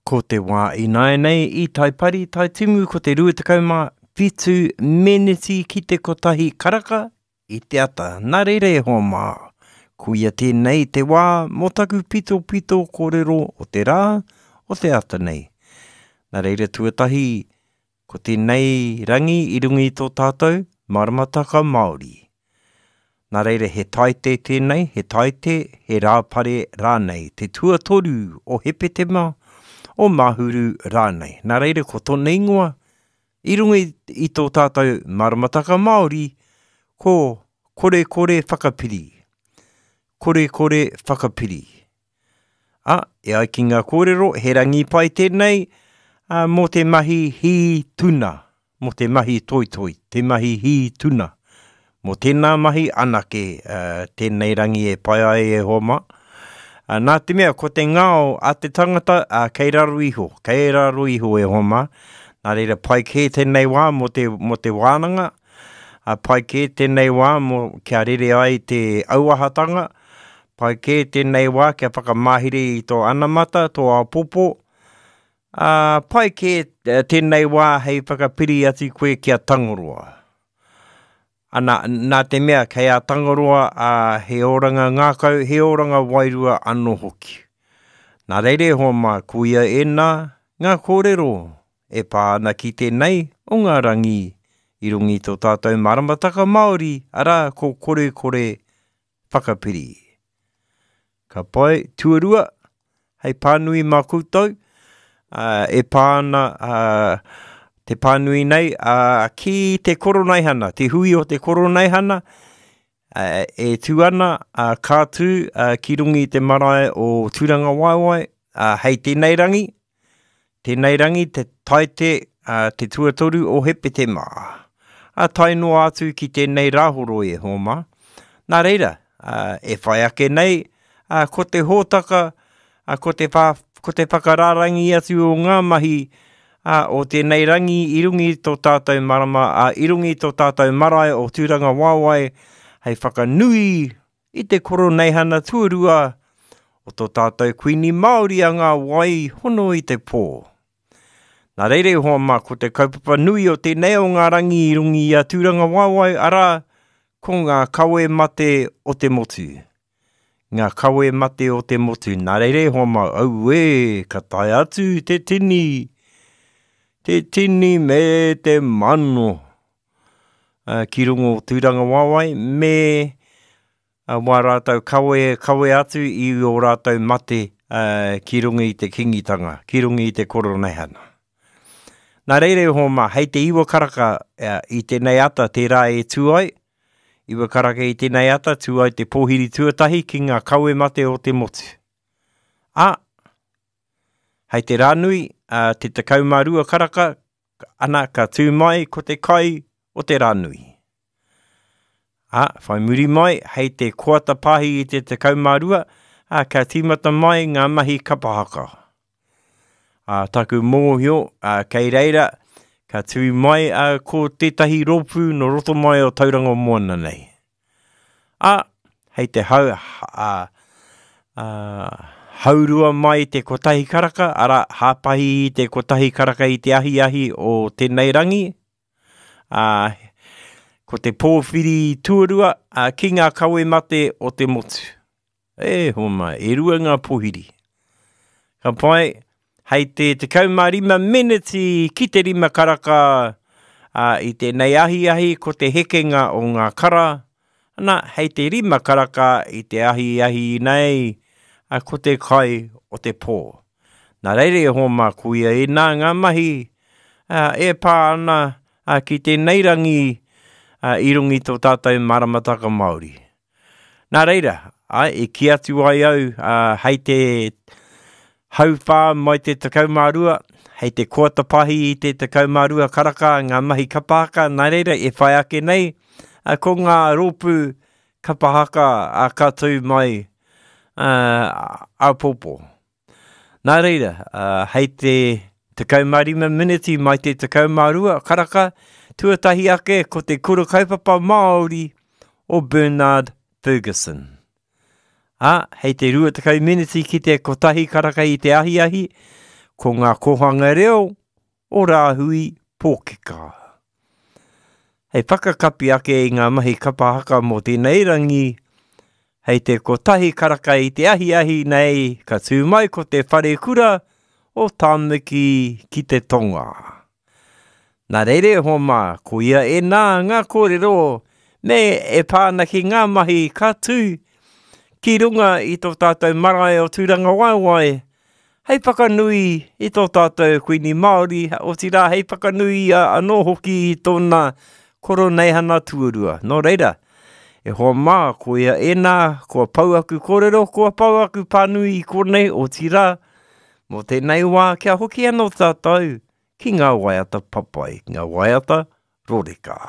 Ko te wā ināianei i Taipari, Taitimu ko te 27 meneti ki te kotahi karaka i te ata. Nā reira e hoa mā, koia tēnei te wā mō taku pitopito kōrero o te rā, o te ata nei. Nā reira tuatahi, Ko tēnei rangi i runga i tō tātou maramataka Māori. Nā reira he taite tēnei, he taite, he rāpare rānei, te tuatoru o Hepetema, o Mahuru rānei. Nā reira ko tōna ingoa i runga i tō tātou maramataka Māori, ko Korekore Whakapiri. Korekore Whakapiri. Ā, e ai ki ngā kōrero, he rangi pai tēnei ā, mō te mahi hī tuna, mō te mahi toitoi, te mahi hī tuna. Mō tēnā mahi anake ā, tēnei rangi e pai ai e hoa mā. Ā, nā te mea, ko te ngao a te tangata, ā, kei raro iho, kei raro iho e hoa mā. Nā reira, pai kē tēnei wā mō te, mō te wānanga, ā, pai kē tēnei wā mō kia rere ai te auahatanga, Pai kē tēnei wā kia whakamahere i tō anamata, tō āpōpō, ā, pai kē tēnei wā hei whakapiri atu koe ki a Tangaroa. Ana, nā te mea kei a Tangaroa ā, he oranga ngākau, he oranga wairua anō hoki. Nā reira e hoa mā, koia ēnā ngā kōrero e pā ana ki tēnei o ngā rangi i runga i tō tātou maramataka Māori, arā, ko Korekore whakapiri. Ka pai, tuarua, hei pānui mā koutou, uh, e pā ana uh, te pānui nei uh, ki te koroneihana, te hui o te koroneihana, uh, e tū ana, uh, ka tū uh, ki runga i te marae o Tūrangawaewae, uh, hei tēnei rangi, Tēnei rangi te taite a te tuatoru o Hepetema. A tae noa atu ki tēnei rāhoroi e hoa mā. Nā reira, e whai ake nei, ko te hōtaka, ko te, wha, ko te whakarārangi atu o ngā mahi o tēnei rangi i runga i tō tātou marama, i runga i tō tātou marae o Tūrangawaewae hei whakanui I te Koroneihana tuarua o tō tātou Kuini Māori a ngā wai hono i te pō. Nā reira e hoa mā, ko te kaupapa nui o tēnei o ngā rangi i runga i a Tūrangawaewae, arā, ko ngā kawe mate o te motu. Ngā kawe mate o te motu. Nā reira e hoa mā, auē, ka tae atu te tini, te tini me te mano. ki runga o Tūrangawaewae me wā rātou kawe, kawe atu i ō rātou mate ki runga i te kingitanga, ki runga i te koroneihana. Nā reira e hoa mā, hei te iwa karaka i tēnei ata tērā e tū ai, iwa karaka i tēnei ata tū ai te pōhiri tuatahi ki ngā kawe mate o te motu. Ā, hei te rānui, te 12 karaka, Ana, ka tū mai ko te kai o te rānui. Ā, whai muri mai, hei te koata pāhi i te 12, ā, ka tīmata mai ngā mahi kapa haka. Ā, taku mōhio, ā, kei reira, ka tū mai ā, ko tētahi rōpū no roto mai o Tauranga Moana nei. Ā, hei te hau, ā, ā, haurua mai te kotahi karaka, arā, hāpahi i te kotahi karaka i te ahiahi o tēnei rangi, ā, ko te pōwhiri tuarua, ā, ki ngā kawe mate o te motu. E hoa mai, e rua ngā pohiri. Ka pai, hei te 15 meneti ki te rima karaka a, i tēnei ahiahi ko te hekenga o ngā kara, ana, hei te rima karaka i te ahiahi nei a, ko te kai o te pō. Nā reira e hoa mā, koia ēnā ngā mahi a, e pā ana a, ki tēnei rangi a, i runga i tō tātou maramataka Māori. Nā reira, ai, i kī atu ai au, ā, hei te hauwhā mai te 12, hei te koata pahi i te 12 karaka ngā mahi kapa haka, nā reira e whai ake nei, ā, ko ngā rōpū kapa haka ā, ka tū mai ā, āpōpō. Nā reira, ā, hei te 15 miniti mai te 12 karaka, tuatahi ake ko te kura kaupapa Māori o Bernard Fergusson. Ā, hei te 20 miniti ki te kotahi karaka i te ahiahi, ko ngā kōhanga reo o Rāhui Pōkeka. Hei whakakapi ake i ngā mahi kapa haka mō tēnei rangi, hei te kotahi karaka i te ahiahi nei ka tū mai ko te wharekura o Tāmaki ki te Tonga. Nā reira e hoa mā, koia ēnā ngā kōrero me e pā ana ki ngā mahi ka tū ki runga i tō tātou marae o Tūrangawaewae hei whakanui i tō tātou Kuini Māori, otirā hei whakanui ia anō hoki i tōna koroneihana tuarua. Nō reira, e hoa mā, koia ēnā, kua pau aku kōrero, kua pau aku pānui i konei, otirā, mō tēnei wā kia hoki anō tātou ki ngā waiata papai, ngā waiata roreka.